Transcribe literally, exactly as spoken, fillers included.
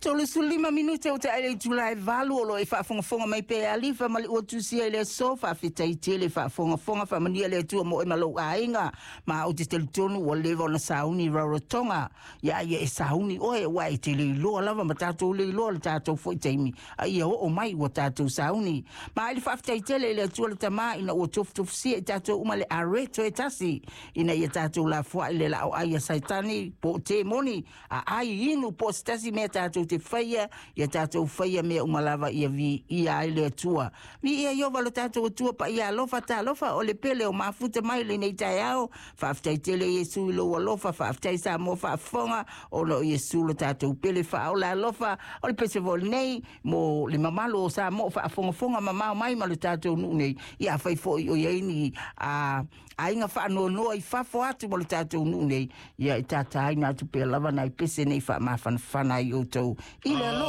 Tolusefulu lima minute o te ai le itula e valu o lo e faafogafoga mai pe alifa ma le ua tusia i le aso. Faafetai tele faafogafoga, faamanuia le Atua mo e ma lou aiga. Ma ou te talitonu ua leva ona sauni Rarotonga ia ia e sauni oe ua e te leiloa lava ma tatou leiloa le tatou foi taimi a ia oo mai ua tatou sauni. Ma i le faafetai tele i le Atua le Tamā ina ua tofutofusia i tatou uma le areto e tasi ina ia tatou lafoai le laau ai a Saitani po o temoni a ai inu po o se tasi mea tatou te faia ia tatou faia mea uma lava ia viia ai le Atua. Viia Iova lo tatou Atua paia alofa talofa o le pele o mafuta mai lenei taeao. Faafetai tele Iesu i lou alofa. Faafetai Samoa faafofoga ona o Iesu lo tatou pele faaola alofa. O le pese foi lenei mo le mamalu o Samoa faafogafoga mamao mai ma le tatou nuu nei. Ia afai foi o i ai ni a aiga faanoanoa i fafo atu mo le tatou nuu nei, ia e tataina atu pea lava nai pese nei faamafanafana ai outou i le alofa.